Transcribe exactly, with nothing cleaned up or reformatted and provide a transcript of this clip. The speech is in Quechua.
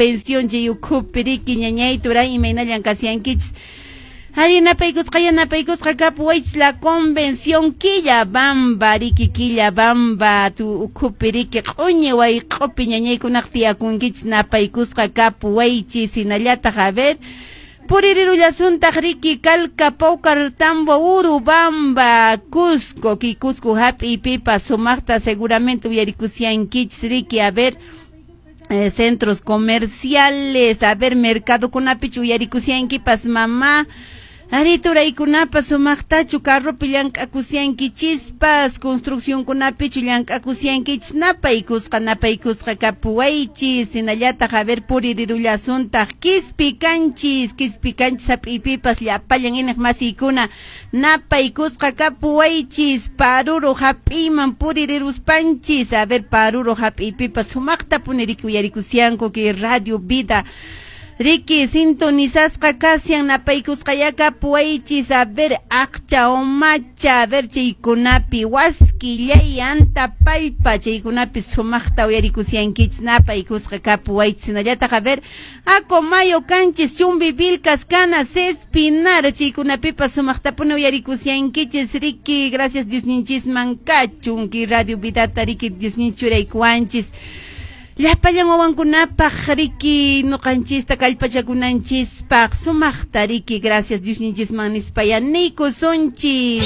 Convención chay ukhupi riki ñañay turay imaynallan kasyankichis. Ari napaykusqa yanapaykusqa kapuwaychis La Convención Quillabamba riki Quillabamba tu ukhupi riki q'uñi wayq'upi ñañaykunaq tiyakunkichis napaykusqa kapuwaychis hinallataq a ver puririrullasuntaq riki Calca Paucartambo Urubamba Cusco ki Cusco hap'iypipas sumaqta seguramente uyarikusyankichis riki a ver Eh, centros comerciales, a ver, mercadokunapichu uyarikusyankipas mamá, ari turaykunapas sumaqtachu carropi llank'akusyankichispas, construccionkunapichu llank'akusyankichis, napaykusqa napaykusqa kapuwaychis, hinallataq a ver puririrullasuntaq Quispicanchis, Quispicanchis hap'iypipas llapallan iniq masiykuna napaykusqa kapuwaychis, Paruro hap'iyman puririruspanchis, a ver Paruro hap'iypipas sumaqtapuni riki uyarikusyanku kay Radio Vida riki sintonizasqa kasyan napaykusqaya kapuwaychis a ver aqcha umacha a ver chaykunapi Huasquillay Antapallpa chaykunapi sumaqta uyarikusyankichis napaykusqa kapuwaychis hinallataq a ver Acomayo kanchis Chumbivilcas Canas Espinar chaykunapipas sumaqtapuni uyarikusyankichis riki gracias Diosninchisman kachun kay Radio Vidata riki Diosninchis churaykuwanchis llapallan wawankunapaq riki nuqanchista kallpachakunanchispaq sumaqta riki gracias Diosninchisman nispaya niykusunchis.